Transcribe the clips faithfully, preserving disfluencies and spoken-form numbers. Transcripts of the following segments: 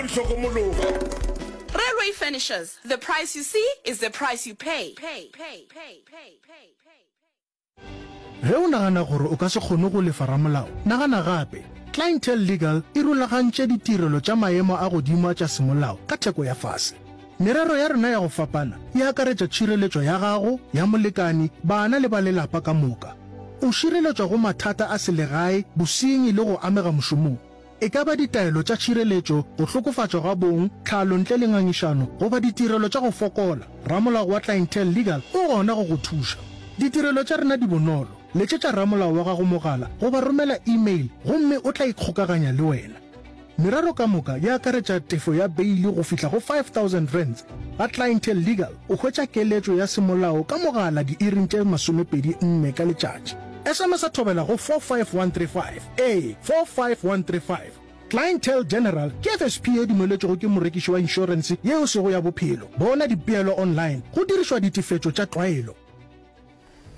di hlokomologa. Railway Furnishers, the price you see is the price you pay. Ge o nagana gore o ka se kgone go lefa ramolao, nagana gape. Clientele Legal e rulagantše ditirelo tša maemo a godimo tša semolao ka theko ya fase. Merero ya rena ya go fapana e akaretša tšhireletšo ya gago, ya molekani, bana le ba lelapa ka moka. O šireletšwa go mathata a selegae, bosenyi le go amega mošomong. E ka ba ditaelo tša tšhireletšo, go hlokofatšwa ga bong, tlhalo ntle le ngangišano, goba ditirelo tša go fokola, ramolao wa Clientele Legal o gona go go thuša. Ditirelo tša rena di bonolo. Letšetša ramolao wa gago mogala goba romela email gomme o tla ikgokaganya le wena. Merero ka moka e akaretša tefo ya beili go fihla go five thousand rands. Ga Clientele Legal o hwetša keletšo ya semolao ka mogala diiring tše masomepedi nne ka letšatši. S M S a thobela go four five one three five, ee, four five one three five. Clientele General ke F S P ye dumeletšwego ke morekiši wa inšorense ye e sego ya bophelo. Bona dipeelo online go dirišwa ditefetšo tša tlwaelo.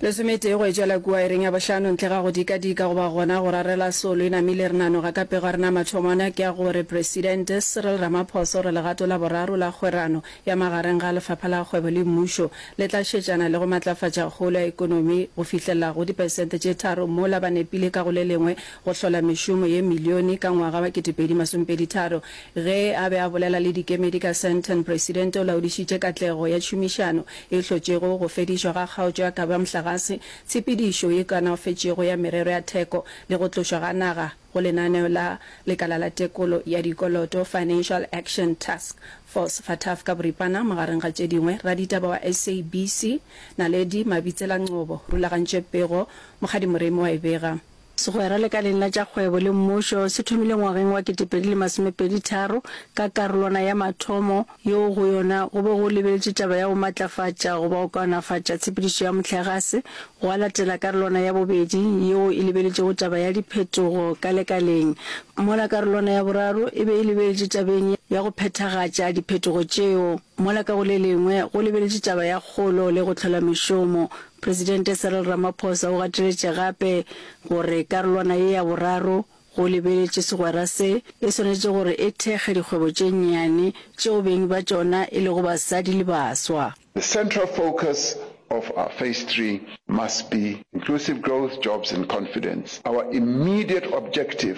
Lesometee go e tšwela kua iring ya bohlano ntle ga go dikadika goba gona go rarela solo e namile re nanoga ka pego ya rena mathomwana ke ya gore Presidente Cyril Ramaphosa o re legato la boraro la kgwerano ya magareng ga lefapha la kgwebo le mmušo le tla šetšana le go matlafatša kgolo ya ekonomi go fihlelela go diperesente tše tharo mola ba nepile ka go le lengwe go hlola mešomo ye milione ka ngwaga wa ketepedi masomepedi tharo. Ge a be a bolela le dikemedi ka Sandton, Presidente o laodišitše katlego ya tšhomišano e hlotšego go fedišwa ga kgaotšo ya kabo ya mohlagase, tshepedišo ye kaonafetšego ya merero ya theko le go tlošwa ga naga go lenaneo la Lekala la Tekolo ya Dikoloto, Financial Action Task Force, FATF, ka boripana, magareng ga tše dingwe. Raditaba wa S A B C, Naledi Mabitsela Ngcobo, rulagantše pego, Mokgadi Moremi wa e bega. Segwera lekaleng la tša kgwebo le mmušo se thomile ngwageng wa ketepedi le masomepedi tharo ka karolwana ya mathomo yeo go yona go be go lebeletšwe taba ya go matlafatša goba go kaonafatša tshepedišo ya mohlagase, gwa latela karolwana ya bobedi yeo e lebeletšego taba ya diphetogo ka lekaleng, mola karolwana ya boraro e be e lebeletše tabeng ya go phethagatša diphetogo tšeo, mola ka go le lengwe go lebeletše taba ya kgolo le go hlola mešomo. Presidente Cyril Ramaphosa o gateletše gape gore karolwana ye ya boraro go lebeletše segwera se e swanetše gore e thekge dikgwebo tše nnyane tšeo beng ba tšona e lego basadi le baswa. The central focus of our phase three must be inclusive growth, jobs and confidence. Our immediate objective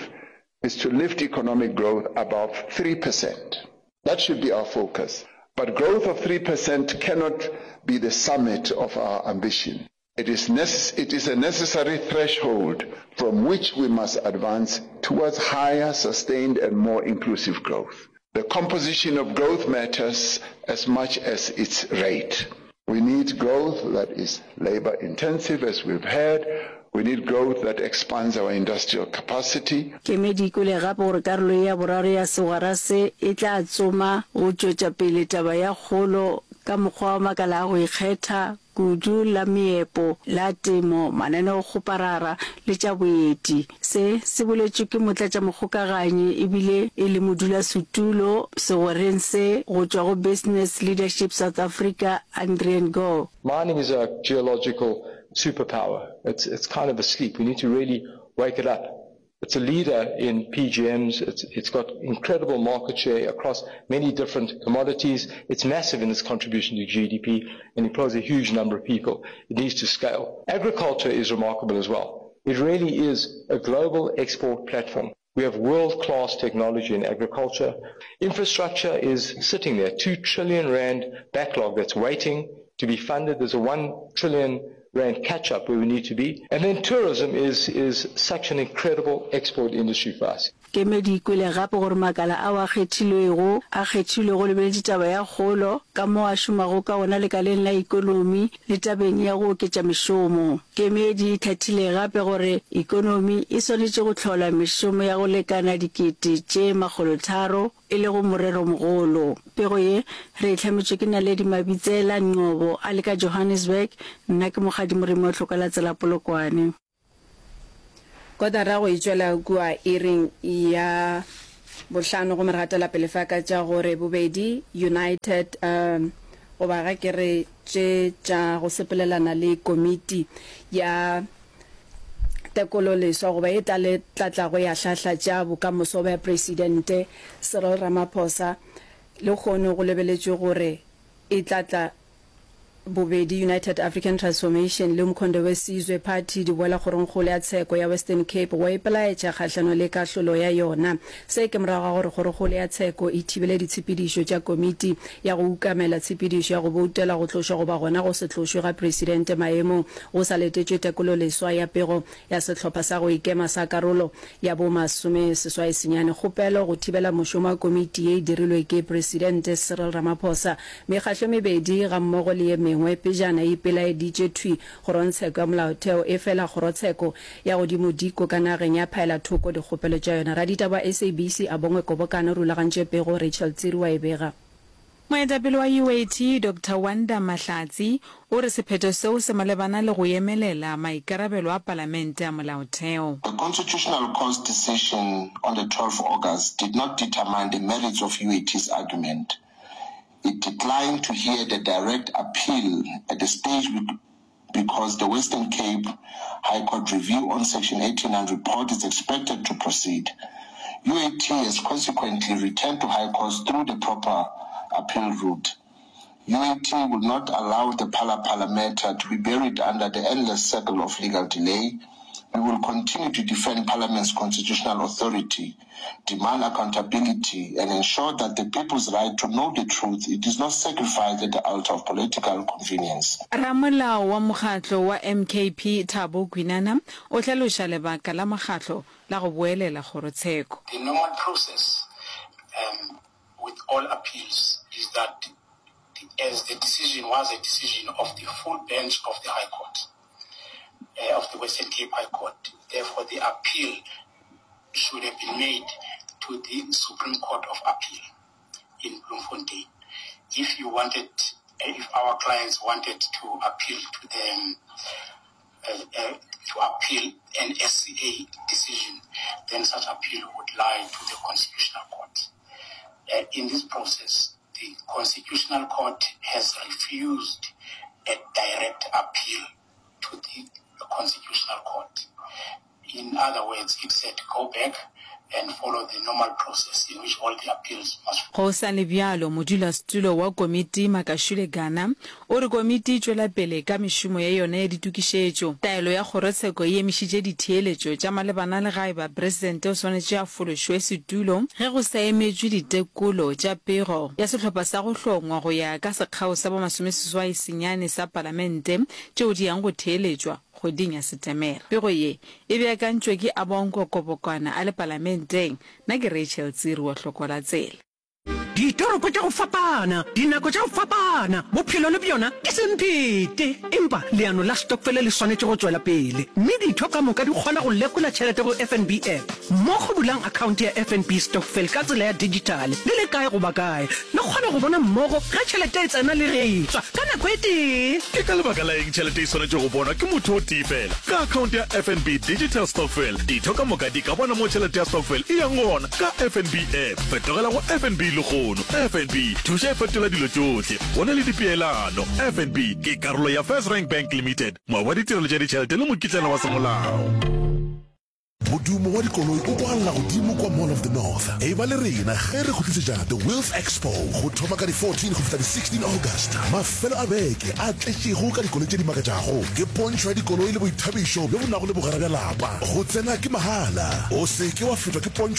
is to lift economic growth above three percent. That should be our focus. But growth of three percent cannot be the summit of our ambition. It is necess-, it is a necessary threshold from which we must advance towards higher, sustained and more inclusive growth. The composition of growth matters as much as its rate. We need growth that is labor intensive, as we've heard. We need growth that expands our industrial capacity. Kemedi e kwele gape gore karolo ye ya boraro ya segwera se e tla tsoma go tšwetša pele taba ya kgolo ka mokgwa wa makala a go ikgetha, kudu la meepo, la temo, mananeokgoparara le tša boeti. Se se boletšwe ke motlatšamokgokaganyi ebile e le modulasetulo segwereng se go tšwa go Business Leadership South Africa, Adrian Gore. Mining is a geological superpower. It's, it's kind of asleep. We need to really wake it up. It's a leader in P G Ms. It's, it's got incredible market share across many different commodities. It's massive in its contribution to G D P and employs a huge number of people. It needs to scale. Agriculture is remarkable as well. It really is a global export platform. We have world-class technology in agriculture. Infrastructure is sitting there, two trillion rand backlog that's waiting to be funded. There's a one trillion rand catch-up where we need to be. And then tourism is, is such an incredible export industry for us. Kemedi e kwele gape gore makala ao a kgethilwego a kgethilwe go lebeletše taba ya kgolo, ka moo a šomago ka gona lekaleng la ekonomi le tabeng ya go oketša mešomo. Kemedi e hlathile gape gore ekonomi e swanetše go hlola mešomo ya go lekana dikete tše makgolotharo, e lego moreromogolo. Pego ye re e hlametšwe ke Naledi Mabitsela Ngcobo a le ka Johannesburg, nna ke Mokgadi Moremi wa Tlhoka la Tsela Polokwane. Kotara go e tšwela kua iring ya bohlano gomme re gatela pele fa ka tša gore bobedi United, um, goba ga ke re tše tša go sepelelana le komiti ya Tekololeswa goba e tla le tla tlago ya hlahla tša bokamoso bja Presidente Cyril Ramaphosa lehono go lebeletšwe gore e tla tla Bobedi United African Transformation le Umkhonto we Sizwe Party di boela kgorongkgolo ya tsheko ya Western Cape go ipelaetša kgahlano le kahlolo ya yona. Se ke morago ga gore kgorokgolo ya tsheko e thibele ditshepedišo tša komiti ya go ukamela tshepedišo ya go boutela go tlošwa goba gona go se tlošwe ga presidente maemong go sa letetšwe tekololeswa ya pego ya sehlopha sa go ikema sa karolo ya bo masomeseswai senyane. Kgopelo go thibela mošomo wa komiti ye e dirilwe ke Presidente Cyril Ramaphosa. Mekgahlo e mebedi gammogo le ye mengwe pejana e ipelaeditše thwi kgorongtsheko ya molaotheo, efela kgorotsheko ya godimodiko ka nageng ya phaela thoko dikgopelo tša yona. Raditaba wa SABC Abongwe Kobokano o rulagantše pego, Rachel Tsiri wa e bega. Moetapele wa U A T, Doctor Wanda Mahlatsi, o re sephetho seo se malebana le go emelela maikarabelo a Palamente a Molaotheo. The Constitutional Court's decision on the twelfth August did not determine the merits of U A T's argument. It declined to hear the direct appeal at the stage because the Western Cape High Court review on Section eighty-nine report is expected to proceed. U A T has consequently returned to High Court through the proper appeal route. U A T will not allow the Phala Phala matter to be buried under the endless circle of legal delay. We will continue to defend Parliament's constitutional authority, demand accountability, and ensure that the people's right to know the truth it is not sacrificed at the altar of political convenience. Ramolao wa mokgatlo wa M K P Thabo Kwinana o hlaloša lebaka la mokgatlo la go boelela kgorotsheko. The normal process um, with all appeals is that the, as the decision was a decision of the full bench of the High Court, uh, of the Western Cape High Court, therefore the appeal should have been made to the Supreme Court of Appeal in Bloemfontein. If you wanted, if our clients wanted to appeal to the uh, uh, to appeal an S C A decision, then such appeal would lie to the Constitutional Court. Uh, in this process, the Constitutional Court has refused a direct appeal to the Constitutional Court. In other words, it said go back and follow the normal process in which all the appeals must Go sa le bjalo, modulasetulo wa komiti Makashule Gana o re komiti e tšwela pele ka mešomo ya yona ya ditokišetšo. Taelo ya kgorotsheko e emišitše ditheeletšo tša malebana le ga eba presidente o swanetše a fološwe setulo ge go sa emetšwe ditekolo tša pego ya sehlopha sa go hlongwa go ya ka sekgao sa bo masomeseswai senyane sa palamente tšeo di yang go theeletšwa kgweding ya Setemere. Pego ye e beakantšwe ke Abongwe Kobokwana a le palamenteng. Nna ke Rachel Tsiri wa Hloko la Tsela. Ditoropo tša go fapana, dinako tša go fapana, bophelo le bjona ke semphete. Empa leano la stokfele le swanetše go tšwela pele, mme ditho ka moka di kgona go lekola tšhelete go F N B app. Mmogo bulang akhaonte ya F N B Stokvel ka tsela ya dijithale le le kae goba kae. Le kgona go bona mmogo ge tšhelete e tsena le ge e tšwa ka nako e tee. Ke ka lebaka la eng tšhelete e swanetše go bonwa ke motho o tee fela? Ka akhaonte ya F N B Digital Stokvel, ditho ka moka di ka bona mo tšhelete ya stokvel e yang gona ka F N B app. Fetogela go F N B lehono. F N B, thuša e fetola dilo tšohle. Go na le dipeelano. F N B ke karolo ya FirstRand Bank Limited, moabi wa ditirelo tša ditšhelete le mokitlana wa semolao. Modumo wa dikoloi o kwagala godimo kwa Mall of the North. Eba le rena ge re go tlisetša The Wheels Expo go thoma ka di fourteen go fihla di sixteen August. Mafelo a beke a tletšego ka dikoloi tše di makatšago ke pontšho ya dikoloi le boithabišo bjo bo nago le bogwera bja lapa. Go tsena ke mahala. O se ke wa fetwa ke pontšho.